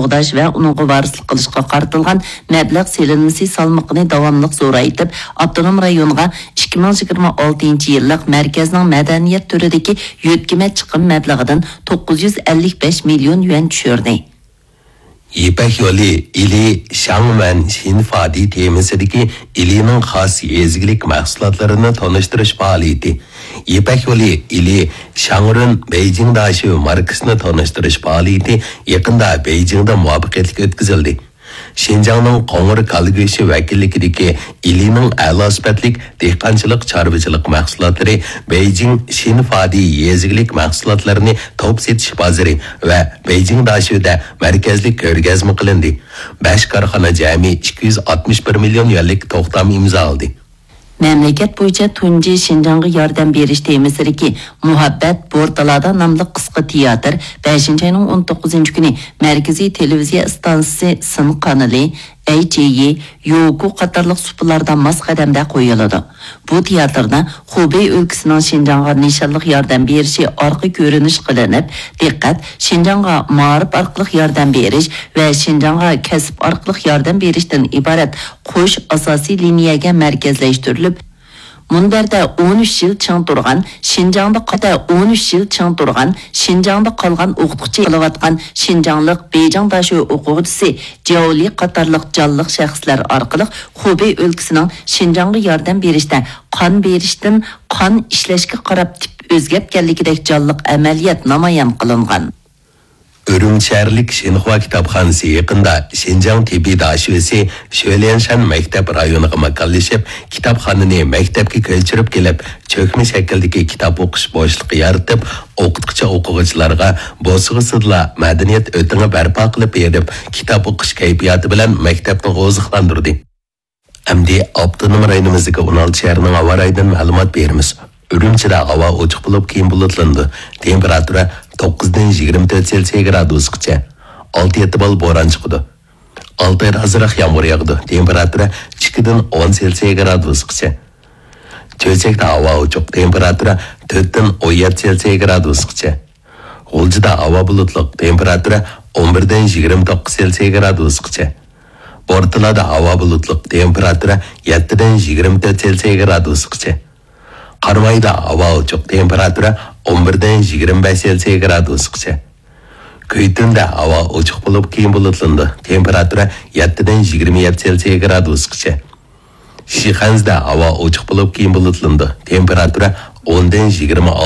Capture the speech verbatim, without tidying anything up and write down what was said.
قوغداش ۋە ئۇنىڭغا ۋارىسلىق قىلىشقا قارىتىلغان مەبلەغ سېلىنمىسى سالمىقىنى داۋاملىق زورايتىپ، ئاپتونوم رايونغا ئىككى مىڭ يىگىرمە ئالتىنچى يىللىق مەركەزنىڭ مەدەنىيەت تۈرىدىكى يۆتكىمە چىقىم مەبلىغىدىن توققۇز يۈز ئەللىك بەش مىليون يۈەن چۈشۈردى. يىپەك يولى ئىلى شاڭمەن شىنفادى تېمىسىدىكى ئىلىنىڭ خاس يېزا ئىگىلىك مەھسۇلاتلىرىنى تونۇشتۇرۇش پائالىيىتى، يىپەك يولى ئىلى شاڭرۇن بېيجىڭ داشۆ ماركىسىنى تونۇشتۇرۇش پائالىيىتى يېقىندا بېيجىڭدا مۇۋەپپەقىيەتلىك ئۆتكۈزۈلدى. شىنجاڭنىڭ قوڭۇر كالا گۆشى ۋەكىللىكىدىكى ئىلىنىڭ ئەلا سۈپەتلىك دېھقانچىلىق، چارۋىچىلىق مەھسۇلاتلىرى بېيجىڭ شىنفادى يېزا ئىگىلىك مەھسۇلاتلىرىنى توپ سېتىش بازىرى ۋە بېيجىڭ داشۆدە مەركەزلىك كۆرگەزمە قىلىندى. بەش كارخانا جەمئىي ئىككى يۈز ئاتمىش بىر مىليون يۈەنلىك توختام ئىمزالىدى. مەملىكەت بويىچە تۇنجى شىنجاڭغا ياردەم بېرىش تېمىسىدىكى مۇھەببەت بورتالادا ناملىق قىسقا تىياتىر بەشىنچى ئاينىڭ ئون توققۇزىنچى كۈنى مەركىزىي تېلېۋىزىيە ئىستانسىسى سىن قانىلى، ئەي چېيى، يوكۇ قاتارلىق سۇپىلاردا ماس قەدەمدە قويۇلىدۇ. بۇ تىياتىردا خۇبېي ئۆلكىسىنىڭ شىنجاڭغا نىشانلىق ياردەم بېرىشى ئارقا كۆرۈنۈش قىلىنىپ، دىققەت شىنجاڭغا مائارىپ ئارقىلىق ياردەم بېرىش ۋە شىنجاڭغا كەسىپ ئارقىلىق ياردەم بېرىشتىن ئىبارەت قوش ئاساسىي لىنىيەگە مەركەزلەشتۈرۈلۈپ، مۇنبەردە ئون ئۈچ يىل چىڭ تۇرغان، شىنجاڭدا قا-، ئون ئۈچ يىل چىڭ تۇرغان، شىنجاڭدا قالغان ئوقۇتقۇچى قىلىۋاتقان شىنجاڭلىق بېيجىڭ داشۆ ئوقۇغۇچىسى جياۋلى قاتارلىق جانلىق شەخسلەر ئارقىلىق خۇبېي ئۆلكىسىنىڭ شىنجاڭغا ياردەم بېرىشتە قان بېرىشتىن قان ئىشلەشكە قاراپ تىپ ئۆزگەرتكەنلىكىدەك جانلىق ئەمەلىيەت نامايان قىلىنغان. ئۈرۈمچى شەھەرلىك شىنخۇا كىتابخانىسى يېقىندا شىنجاڭ تېببىي داشۆسى شۆليەنشەن مەكتەپ رايونىغا ماكانلىشىپ، كىتابخانىنى مەكتەپكە كۆچۈرۈپ كېلىپ، چۆكمە شەكىلدىكى كىتاب ئوقۇش بوشلۇقى يارىتىپ، ئوقۇتقۇچى ئوقۇغۇچىلارغا بوسۇغىسىدىلا مەدەنىيەت ئۆتىڭى بەرپا قىلىپ بېرىپ، كىتاب ئوقۇش كەيپىياتى بىلەن مەكتەپنى ئوزۇقلاندۇردى. ئەمدى ئاپتونوم رايونىمىزدىكى ئون ئالتە شەھەرنىڭ ھاۋا رايىدىن مەلۇمات بېرىمىز. ئۈرۈمچىدە ھاۋا ئوچۇق بولۇپ، كېيىن بۇلۇتلىنىدۇ. تېمپېراتۇرا توققۇزدىن يىگىرمە تۆت سېلسىيە گرادۇسقىچە. ئالتە يەتتە بال بوران چىقىدۇ. ئالتە ئايدا ئازراق يامغۇر ياغىدۇ. تېمپېراتۇرا ئىككىدىن ئون سېلسىيە گرادۇسقىچە. چۆچەكتە ھاۋا ئوچۇق، تېمپېراتۇرا تۆتتىن ئون يەتتە سېلسىيە گرادۇسقىچە. غۇلجىدا ھاۋا بۇلۇتلۇق، تېمپېراتۇرا ئون بىردىن يىگىرمە توققۇز سېلسىيە گرادۇسقىچە. بورتالادا ھاۋا بۇلۇتلۇق، تېمپېراتۇرا يەتتىدىن يىگىرمە تۆت سېلسىيە گرادۇسقىچە. قارامايدا ھاۋا ئوچۇق، تېمپېراتۇرا ئون بىردىن يىگىرمە بەش سېلسىيە گرادۇسقىچە. كۈيتۈندە ھاۋا ئوچۇق بولۇپ، كېيىن بۇلۇتلىنىدۇ، تېمپېراتۇرا يەتتىدىن يىگىرمە يەتتە سېلسىيە گرادۇسقىچە. شىخەنزىدە ھاۋا ئوچۇق بولۇپ، كېيىن بۇلۇتلىنىدۇ، تېمپېراتۇرا ئوندىن يىگىرمە